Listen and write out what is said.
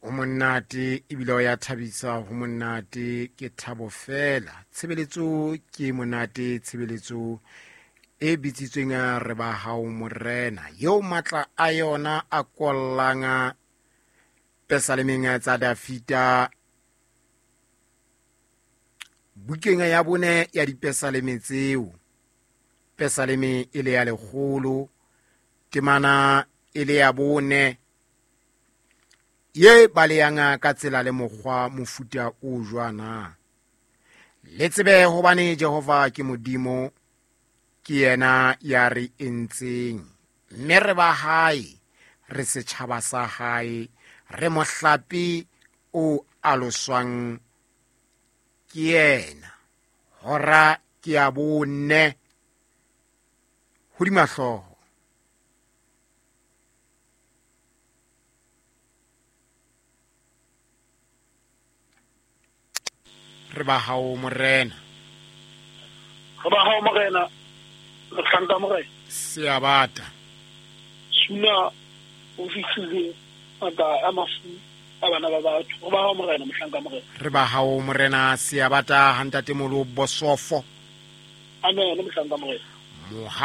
O monate ebile o ya thabisa, ho monate ke thabo fela. Tshebeletso ke monate, tshebeletso e bitsitsweng re ba hao morena, eo matla a yona a kollang pesalemeng tsa Dafita bukeng ya bone ya dipesaleme tseo. Pesaleme e le ya 100, temana e le ya 4, ye baleyang ka tsela le mokgwa mofuta o jwana. Le tsebe hobane Jehova ke Modimo, ke yena ya re entseng, mme re ba hae, re setjhaba sa hae, re mohlape o aloswang ke yena. Hora ke ya 4 hodima hlooho. Re ba hao morena. Re ba hao morena, mohlanka morena. Seabata. Suna o fihlile maka a mafu a bana ba batho. Re ba hao morena, mohlanka morena. Re ba hao morena Seabata hantate molo bosofo. Amen, mohlanka morena. Moha